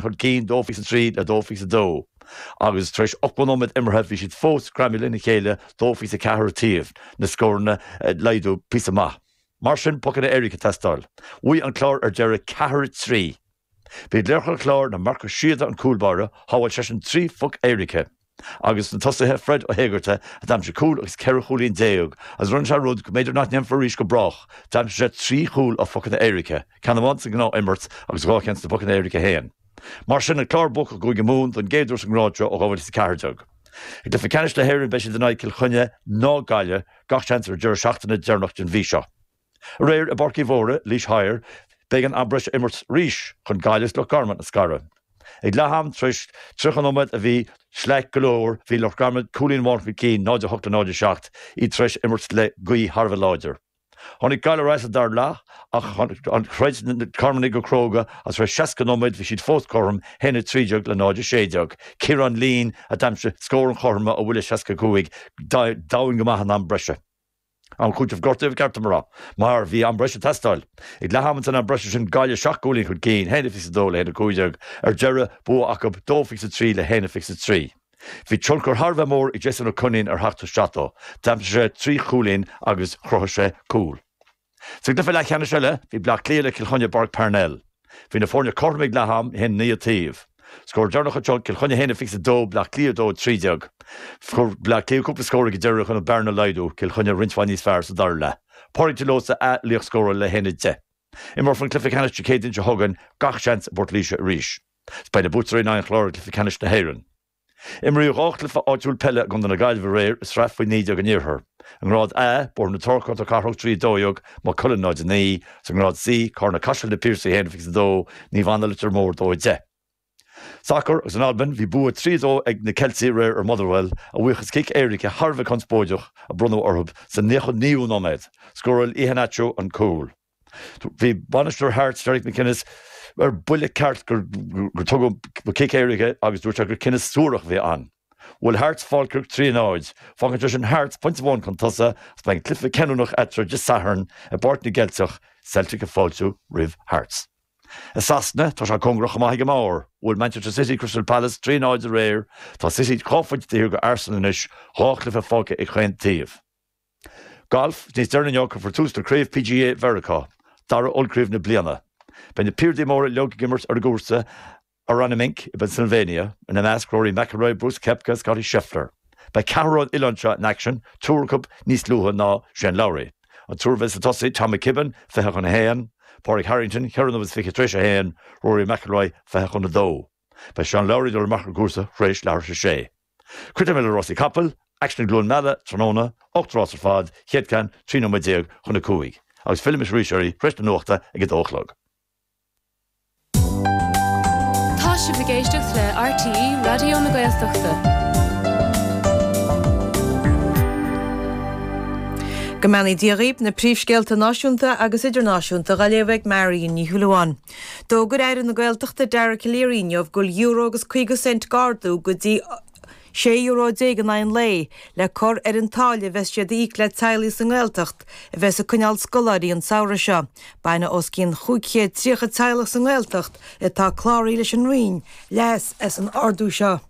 Chun cinn, 2 faoi 3 le 2 faoi 2 agus tar éis 80 nóiméad imeartha bhí siad fós greamaithe lena chéile, 2 faoi 4 an taobh, na scóranna ag laghdú píosa maith. Mar sin, pocanna éirice ag teastáil. Bhuaigh an Clár ar deireadh 4, 3. B'iad laochra an Chláir ná Marcus Síoda an cúl báire, shábháil seisean 3 phoc éirice, agus na tosaithe Fred Ó hÉigeartaigh a d'aimsigh cúl agus 14 chúilín agus rinne sé rud go mb'fhéidir nach ndéanfar arís go brách, d'aimsigh sé 3 chúl ó phocanna éirice, ceann amháin sa ngnáth-imirt agus 2 cheann sna pocanna éirice féin. Mar sin, an Clár buacach i gCúige Mumhan don gcéad uair sa ngrád seo ó 2014. I gcluiche ceannais na hÉireann beidh siad in aghaidh Cill Chainnigh ná Gaillimh, gach seans ar an deireadh seachtaine deireanach den mhí seo. Aréir i bPáirc Uí Mhórdha, Laois Thoir, b'éigean am breise a imirt arís chun Gaillimh is Loch Garman a scaradh. Ag leath-am, tar éis 30 nóiméad a bhí sleaich go leor, bhí Loch Garman cúilín amháin chun cinn, 0-8 le 0-7, iad tar éis imirt le gaoth thar a bheith láidir. Tháinig Gaillimh ar ais sa dara leath ach throid na Carmannaigh go cróga agus tar éis 60 nóiméad bhí siad fós cothrom, 1-13 le 0-16. Ciarán Leen a d'aimsigh scór an chothroime ó bhuille 65, domhain go maith in am breise. Am cúitimh gortaithe ba cheart dom a rá, mar bhí am breise ag teastáil. Ag leath ama san am breise sin, Gaillimh 7 gcúilín chun cinn, 1-22 le 1-15. Ar deireadh, bua acu, 2-23 le 1-23. Bhí tionchar thar a bheith mór ag Jason Ó Coinín ar theacht isteach dó. D'aimsigh sé 3 chúilín agus chruthaigh sé cúl. Sa gcluiche leathcheannais eile, bhí Bleá Cliath le Cill Chainnigh i bPáirc Parnell. Bhí na foirne cothrom ag leath am, 1-9 an taobh. Scór deireanach anseo, Cill Chainnigh 1-22, Bleá Cliath 2-13. Fuair Bleá Cliath cúpla scór ag an deireadh chun an bearna a laghdú, Cill Chainnigh roinnt mhaith níos fearr sa dara leath. Pádraig de Lósa a laochscórálaí le 1-10. Imreofar an cluiche ceannais Dé Céadaoin seo chugainn, gach seans i bPort Laoise arís. Beidh na buaiteoirí in aghaidh an Chláir i gcluiche ceannais na hÉireann. Imríodh 2 chluiche áitiúil peile i gContae na Gaillimhe aréir i Sraith Faoi 19 an Iarthair. I ngrád A, Bóthar na Trá Contae Cathrach 3 12, Maigh Cuilinn 0 9, Sa ngrád C, Carna Caiseal Na Piarsaigh 1 22, Naomh Anna Leitir Móir 2 10. Sacar agus in Albain, bhí bua 3 2 ag na Ceiltigh aréir ar Motherwell, a bhuíochas cic éirice thar a bheith conspóideach a bronnadh orthu sa 99ú nóiméad. Scóráil Iheanacho an cúl. Bhí bainisteoir Hearts, Derek McInnes, ar buile ceart gur tugadh an cic éirice agus dúirt sé gur cinneadh suarach a bhí ann. Bhuail Hearts Falkirk 3 0. Fágann sé sin Hearts pointe amháin chun tosaigh agus beidh an cluiche cinniúnach eatarthu Dé Sathairn i bPáirc na gCeilteach, Celtic ag fáiltiú roimh Hearts. I Sasana, tá sé cóngarach chomh maith ag an mbarr. Bhuail Manchester City Crystal Palace 3 0 aréir. Tá City 2 phointe taobh thiar de Arsenal anois, 2 chluiche fágtha ag chaon taobh. Galf, Níos deireanaí inniu cuirfear tús le Craobh PGA Mheiriceá, dara ollchraobh na bliana. Beidh na piardaí móra uilig ag imirt ar an gcúrsa Aronimink i bPennsylvania, ina measc Rory McIlroy, Brooks Koepka, Scottie Scheffler. Beidh ceathrar ón oileán seo in aicsean, triúr acu níos luaithe ná Shane Lowry. An triúr a bheas ag tosaí, Tom McKibbin, 20 chun 1, Pádraig Harrington, 4 nóiméad is 20 tar éis a haon, Rory McIlroy, 20 chun 2. Beidh Shane Lowry ag dul amach ar an gcúrsa tar éis leathuair tar éis a sé. Críochnóidh mé le rásaí capall, aicsean i gCluain Meala tráthnóna, 8 rás ar fad, chéad ceann 13 nóiméad chun a 5. Agus fillfidh mise arís oraibh tar éis na nuachta ag a dó a chlog. Tá sibh ag éisteacht le RTÉ Raidió na Gaeltachta. Go mbeannaí Dia dhaoib, na príomhscéalta náisiúnta agus idirnáisiúnta dhá léamh ag Marion Ní Shúilleabháin. D'fhógair Aire na Gaeltachta Dara Calleary inniu go bhfuil euro agus 50 cent d'ardú go dtí €16 in aghaidh an lae le cur ar an táille a bheas siad a íoc le teaghlaigh sa nGaeltacht a bheas ag coinneáil scoláirí an samhradh seo. Bainfidh os cionn 530 teaghlach sa nGaeltacht atá cláraithe leis an Roinn leas as an ardú seo.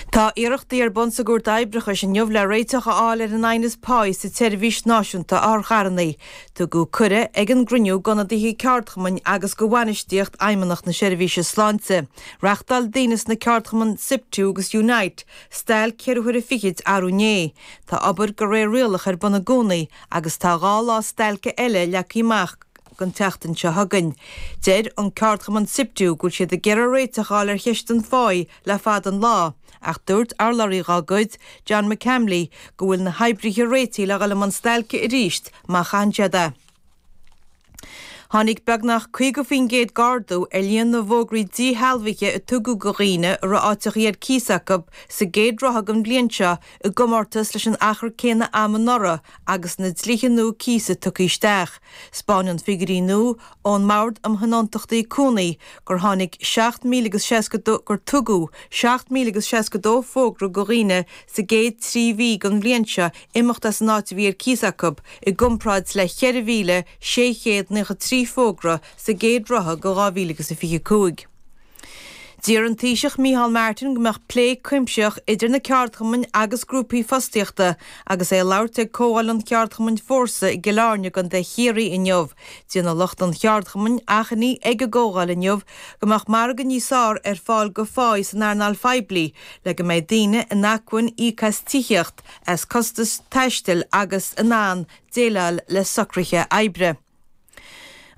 Tá iarrachtaí ar bun sa gCúirt Oibreachais inniu le réiteach a fháil ar an aighneas páí sa tSeirbhís Náisiúnta Otharcharranna. Tugadh cuireadh ag an gcruinniú d'ionadaithe ceardchumainn agus do bhainistíocht Fheidhmeannacht na Seirbhíse Sláinte. Reachtáil daoine sna ceardchumainn Siptu agus Unite stailc cheithre huaire fichid arú inné. Tá obair de réir rialach ar bun i gcónaí agus tá 2 lá stailce eile leagtha amach don tseachtain seo chugainn. Deir an ceardchumann Siptu go bhfuil siad ag iarraidh réiteach a fháil ar cheist an pháí le fada an lá, ach dúirt urlabhraí dá gcuid, John McCamley, go bhfuil na hoibrithe réitithe le dhul i mbun stailce arís má chaitheann siad é. Tháinig beagnach 50% d'ardú ar líon na bhfógraí díshealbhaithe a tugadh do dhaoine a raibh áiteachaí ar cíos acu sa gcéad ráithe den bhliain seo i gcomórtas leis an achar céanna ama anuraidh agus na dlíthe nua cíosa tugtha isteach. 'Spáineann figiúirí nua ón mBord um Thionóntachtaí Cónaí gur tháinig 7,062 gur tugadh 7,062 fógra do dhaoine sa gcéad 3 mhí den bhliain seo imeacht as an áit a bhí ar cíos acu, i gcomparáid le 4,693. 3 fógra sa gcéad rotha go 2025. D'iarr an Taoiseach Micheál Martin go mbeadh plé cuimsitheach idir na ceardchumainn agus grúpaí fostaíochta agus é ag labhairt ag comhdháil an cheardchumainn Fórsa i gCill Airne i gContae Chiarraí inniu. Déanfaidh lucht an cheardchumainn achainí ag an gcomhdháil inniu go mbeadh margadh níos fearr ar fáil go pháí san earnáil phoiblí le go mbeidh daoine in acmhainn íoc as tithíocht, as costais taistil agus in ann déileáil le socruithe oibre.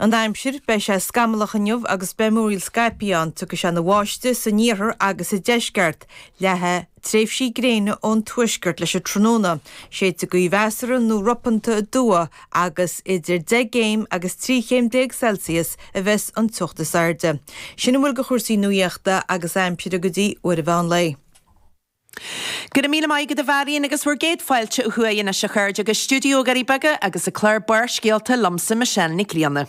An aimsir, Beidh sé scamallach inniu agus beidh múraíl scaipthe ann. Tiocfaidh sé ina bháisteach san iarthar agus sa deisceart. Leathfaidh tréimhsí gréine ón tuaisceart leis an tráthnóna. Séidfidh gaoth mheasartha nó ropanta aduaidh agus idir 10 gcéim agus 13 chéim Celsius a bheas an teocht is airde. Sin a bhfuil de chúrsaí nuaíochta agus aimsire go dtí uair an mheán lae. Go raibh míle maith agat a Mharion agus bhur gcéad fáilte ó thuaidh anois a chairde go stiúideo Dhoirí Beaga agus an clár Barrscéalta liomsa Michelle Nic Grianna.